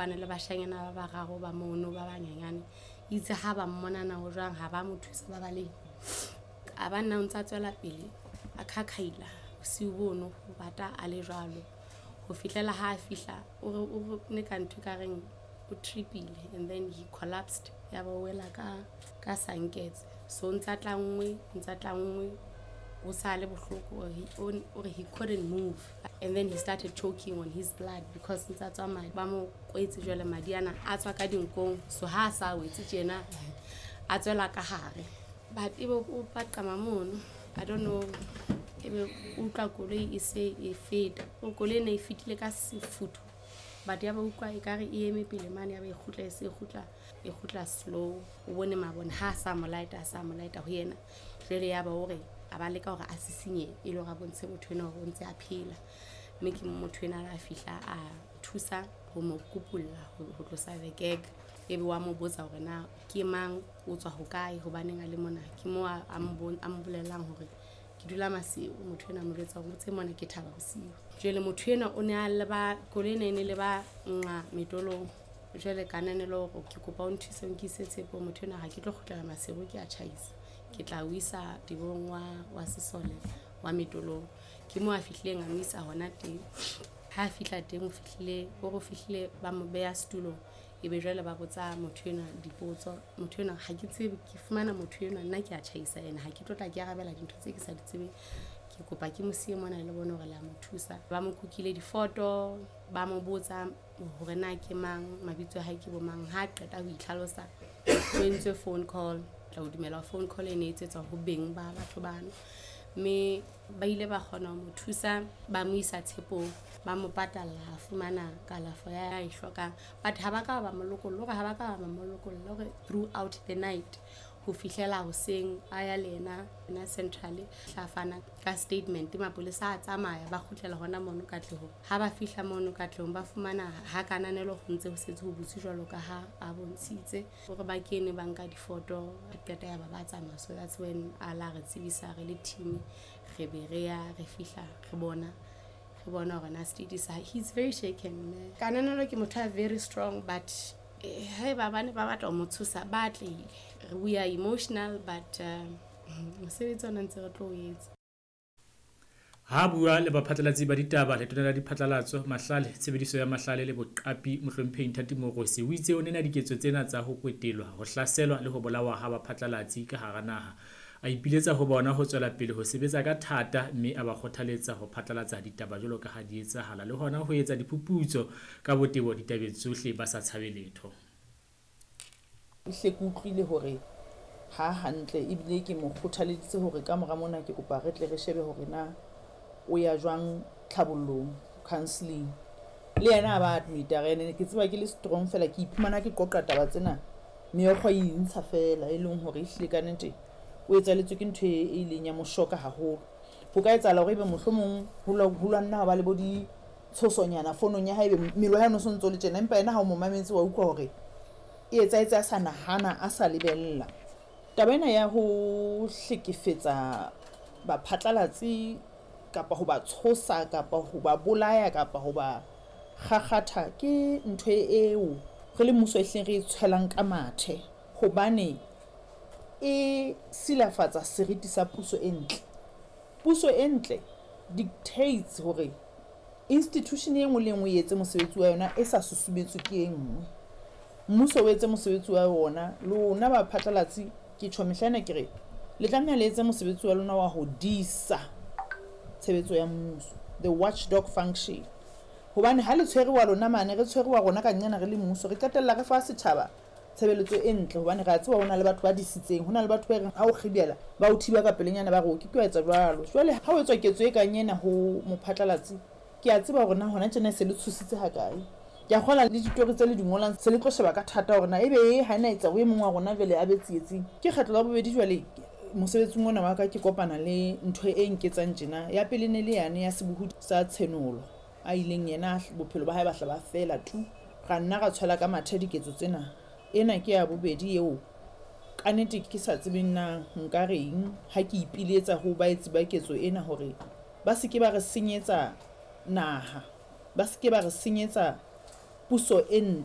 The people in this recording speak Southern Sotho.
kopane le bashanyana ba bararo ba mono ba banyenyane. Itse ha ba mmona na ho jwang, ha ba mo thusa, ba baleha. A ba nna o ntsa tswela pele a khakhaila bosiu bono, ho bata a le jwalo ho fihlela ha a fihla. O re ne ka ntho e ka reng o tripile and then he collapsed, ya ba o wela ka sanketse. So o ntsa tlanngwe, ntsa tlanngwe, o sa le bohloko. O re he couldn't move and then he started choking on his blood because ntsa tswa madi. Ba mo kwetse jwale, madi ana a tswa ka dinkong. So ha a sa wetse tjena, a tswela ka hare, but ebe o paqama mono. I don't know, ebe o utlwa koloi e se e feta. O koloi ena e fetile ka sefutho, but ya ba utlwa ekare e eme pele mane, ya ba e kgutla, e se e kgutla, e kgutla slow. O bone mabone ha a sa mo light, a sa mo light ho yena. Jwale ya ba hore a ba leka hore a sisinye e le hore a bontshe motho ena hore o ntse a phela, mme ke motho ena a fihla a thusa ho mo kupulla, ho tlosa the gag. Ebe wa mo botsa hore na ke mang, o tswa hokae, hobaneng a le mona. Ke mo a mo bolellang hore ke dula Maseru. Motho ena a mo jwetsa hore motse mona ke Thaba Bosiu. Jwale motho ena o ne a leba koloi ena e ne le ba nqa Metolong. Jwale ka nanelo hore ke kopa o nthuse, o nkise Tshepong. Motho ena, ha ke tlo kgutlela Maseru, ke a tjhaisa, ke tla o isa tebong wa sesole wa Metolong. Ke mo a fihlileng a mo isa hona teng. Ha a fihla teng, o fihlile o re o fihlile, ba mo beha setulong, ebe jwale ba botsa motho enwa dipotso. Motho enwa, ha ke tsebe, ke fumana motho enwa, nna ke a tjhaisa ene ha ke tlo tla ke arabela dintho tse ke sa di tsebeng. Ke kopa ke mo siye mona, le bone hore le a mo thusa. Ba mo kukile difoto, ba mo botsa hore na ke mang, mabitso a hae ke bo mang. Ha a qeta ho itlhalosa, ho entswe phone call. Tla o dumela phone call e ne e etsetswa ho beng ba batho bano, mme ba ile ba kgona ho mo thusa, ba mo isa Tshepong, ba mo patalla, a fumana kalafo ya e hlokang. But ha ba ka ba mo lokolla, hore ha ba ka ba mo lokolla, hore throughout the night ho fihlela hoseng a ya le yena na central, tla fana ka statement. Mapolesa a tsamaya, ba kgutlela hona mono Katlehong. Ha ba fihla mono Katlehong, ba fumana ha Kananelo ho ntse ho setse ho butse jwalo ka ha a bontshitse hore ba kene, ba nka difoto, qeta ya ba ba tsamaya. So that's when a la re tsebisa re le team, re be re ya, re fihla, re bona hore na status, he's very shaken. Kananelo ke motho a very strong, but haeba ba ne ba batla ho mo tshosa, ba atlehile. We are emotional, but mosebetsi ona ntse re tlo o etsa. Ha bua le baphatlalatsi ba ditaba, Letona la Diphatlalatso, Mahlale, Tshebediso ya Mahlale le Boqapi, Mohlomphehi Nthati Moorosi, o itse o nena diketso tsena tsa ho kwetelwa, ho hlaselwa le ho bolawa ha baphatlalatsi ka hara naha. A ipiletsa ho bona ho tswela pele ho sebetsa ka thata, mme a ba kgothaletsa ho phatlalatsa ditaba jwalo ka ha di etsahala le hona ho etsa diphuputso ka botebo ditabeng tsohle ba sa tshabe letho. Ehlile ke utlwile hore ha hantle, ebile ke mo kgothaleditse hore ka mora mona ke kopa re tle re shebe hore na o ya jwang tlhabollong, counselling. Le yena a ba admit-a ene ke tseba ke le strong fela, ke iphumana ke qoqa taba tsena, meokgo e intsha fela, e leng hore ehlile ka nnete o etsahalletswe ke ntho e ileng ya mo shock-a haholo. Ho ka etsahala hore ebe mohlomong ho lwanna ha ba le bo ditshosonyana fonong ya hae, ebe mmele wa hae o no so ntso le tjena, empa yena ha o mo mametse wa utlwa hore e etsahetse a sa nahana, a sa lebella. Taba ena ya ho hlekefetsa baphatlalatsi kapa ho ba tshosa kapa ho ba bolaya kapa ho ba kgakgatha ke ntho eo re le mmuso ehlileng re e tshwelang ka mathe, hobane e silafatsa seriti sa puso e ntle. Puso e ntle dictates hore institution e nngwe le e nngwe e etse mosebetsi wa yona e sa susumetswe ke e nngwe. Mmuso o etse mosebetsi wa ona, lona baphatlalatsi, ke tjho mehla ena ke re le tlameha le etse mosebetsi wa lona wa ho disa tshebetso ya mmuso, the watchdog function, hobane ha le tshwere wa lona mane, re tshwere wa rona ka nqena re le mmuso, re qetella re fa setjhaba tshebeletso e ntle, hobane re a tseba ho na le batho ba disitseng, ho na le batho ba reng ha o kgibela ba o thiba ka pelenyana, ba re o ke ke wa etsa jwalo. Jwale ha o etswa ketso e kang ena ho mophatlalatsi, ke a tseba hore na hona tjena e se le tshositse hakae. Ke a kgola le ditori tse le di ngolang se le tlo sheba ka thata hore na ebe e ha ena etsa ho e mong wa rona jwale a be tsietsing. Ke kgetlo la bobedi jwale mosebetsing ona wa ka ke kopana le ntho e nketsang tjena. Ya pele ne le yane ya sebohodi sa Tshenolo, a ileng yena bophelo ba hae ba hla ba fela tu, ra nna ra tshwela ka mathe diketso tsena. Ena ke ya bobedi eo ka nnete ke sa tsebeng na nka reng ha ke ipiletsa ho baetsi ba ketso ena hore ba se ke ba re senyetsa naha, ba se ke ba re senyetsa puso e ntle.